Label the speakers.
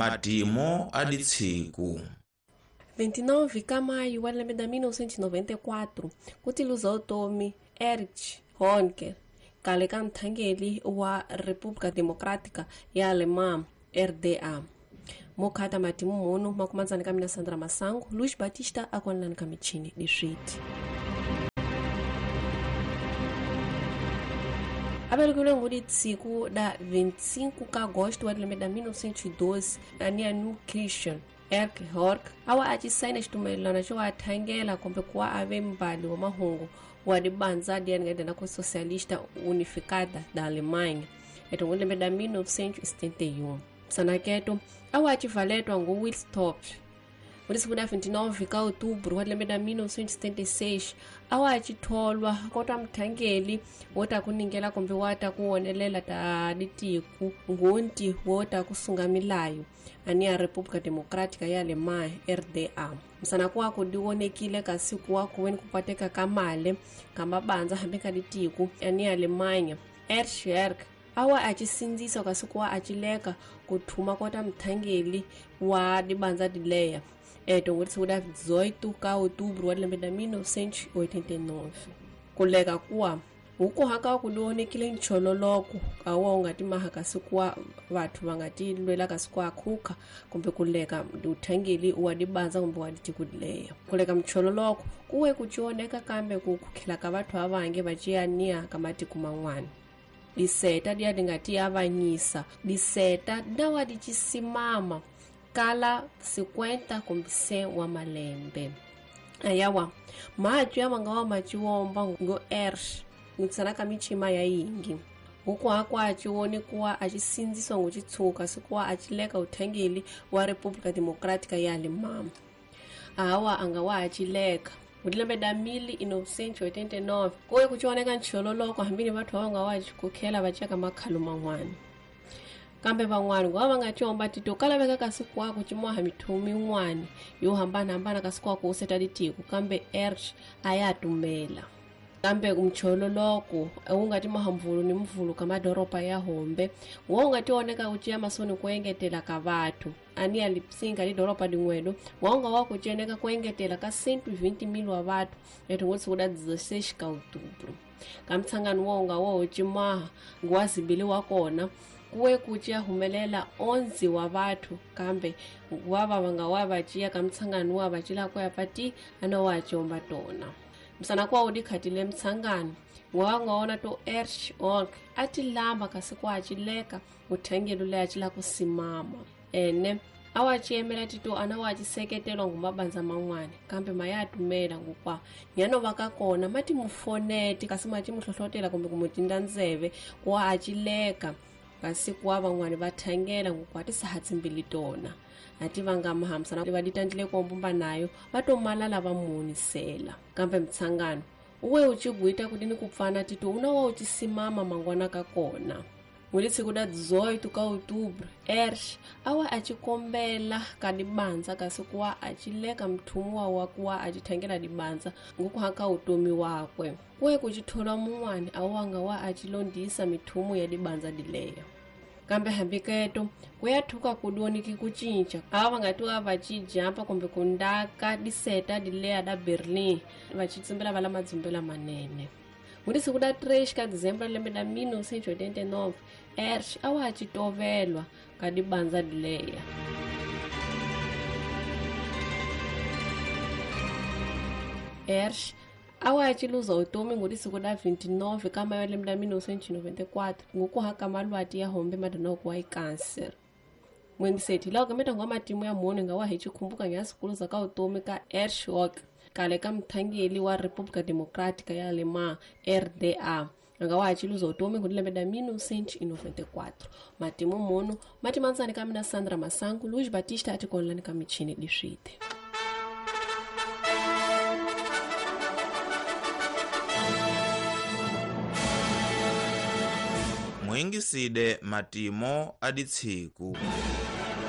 Speaker 1: Matimo a ditsiku.
Speaker 2: 29 ka maio wa lembe ra 1994 ku tiluza utomi Erich Honecker kale ka mthangeli wa República Democrática ya Alemã RDA. Mokhata matimu mono makumanzani ka mina Sandra Masango, Luiz Batista akonlani ka michini diswiti. Aberekiwile ngudi tsiku da 25 ka agosto wa lembe ra 1912 ania New Christian Erich Honecker awa a ci sayina xitumelelano xo a thangela kumbe ku wa ave mbali wa mahungu wa dibanza diani ku socialista unificada da Alemanha etongo lembe ra 1971. Msanaketo awa a ci valetwa ngu Wilstop. Mulisiku da 29 ka outubro wa lembe ra 1976 awa a ci tholwa kota mthangeli wo ta ku ningela kumbe wa ta ku wonelela ta ditiku ngunti wo ta ku sunga milayo ani ya República Democrática ya Alemanha RDA. Msanaku wako diwonekile kasi ku wa kuweni kupateka ka male ka mabandza hambi ka ditiku ani ya Alemanha. Erich Honecker awa a ci sindzisa kasi ku wa a ci leka ku thuma kota mthangeli wa dibandza dileya etongo siku da 18 ka outubro wa lembe ra 1989. Kuleka kuwa hukuhaka ku liwonekile nchololoko awa u nga ti maha kasi kuwa vathu va nga ti lwela kasi ku akhukha kumbe kuleka uthangeli wa dibandza kumbe wa ditiko dileya. Kuleka mchololoko kuwe ku cioneka kambe ku khukhela ka vathu avange va ciyaniya ka matiko man'wana. Diseta diya di nga ti avanyisa diseta dawa di cisimama kala 50 kumbe 100 wa malembe. Ayawa matwi ya manga wa maciwomba ngo Erich ngitsana ka michima ya yingi hukuhakwa a ciwoni kuwa a ci sindziswa ngo citshuka sikuwa a cileka uthangeli wa República Democrática ya Alemã. Awa anga wa a cileka lembe ra 1989 kuye ku cioneka nchololoko hambini vathu va nga wa kukhela va ceka makhalo man'wana. Kambe van'wana ngova va nga tiomba tito kalaveka kasi kwaku cimoha mithumu yin'wana yo hambanahambana kasi kwaku u seta ditiko kambe Erich a ya tumela. Kambe mchololoko wu nga ti maha mvulu ni mvulu ka madoroba ya hombe wo nga tioneka ku ciya masoni ku engetela ka vathu ani ya Lipsinga lidoroba din'welo wo nga wa ku cioneka ku engetela ka 120,000 wa vathu etongo siku da 16 ka outubro. Ka mtshangano wo nga wo cimaha nguwazibili wa kona kuwe ku ciya humelela 11 wa vathu kambe wa va nga wa va ciya ka mtshangano wa va cila ku ya pati ana wa ciomba tona. Msanaku wa udikhatile mtshangano wa nga wona to Erich Honecker a ti lamba kasi ku a cileka uthangelo leyi a cila ku simama ene a wa ciyemela tito ana wa ci seketelwa ngu mabandza man'wana kambe ma ya tumela ngukwa nyano va ka kona ma ti mufoneti kasi ma ti muhlohlotela kumbe ku mu tinda ndzeve ku wa a cileka kasi ku wa van'wana va thangela ngukwa ti sahatsimbili tona a ti vanga mahambisana va ditandlile ku mbumba nayo va to malala va munisela. Kambe mtshangano uwe u cigwita kuti ni ku pfana tito una wa u ci simama mangwana ka kona. Mulisiku da 18 ka outubro Erich awa a ci kombela ka dibandza kasi ku wa a ci leka mthumuwa wa ku wa a ci thangela dibandza ngukuhaka utomi wakwe. Kuwe ku ci thola mun'wana awa nga wa a ci londisa mithumu ya dibandza dileya. Kambe hambiketo ku ya thuka ku doniki ku cinca ava va nga ti wa va ci jampa kumbe ku ndaka diseta dileya da Berlin va ci tsumbela va la madzumbela manene. Mulisiku da 3 ka dezembro lembe ra 1989 Erich awa a ci tovelwa ka dibandza dileya. Erich awa a ci luza utomi ngolisiku da 29 ka mayo lembe ra 1994 ngukuhaka malwati ya hombe madonoko wa ikanser. Mwengiseti lawa kameta ngwa matimu ya mone nga wa hi cikhumbuka nya sikuluza ka utomi ka Erich Honecker kale ka mthangeli wa República Democrática ya Alemã RDA nga wa ci luza utomi ngoli lembe ra 1994. Matimu mono matimanzani ka mina Sandra Masango, Luiz Batista atikonlani ka michini diswite.
Speaker 1: Mwingiside matimo a ditsiku.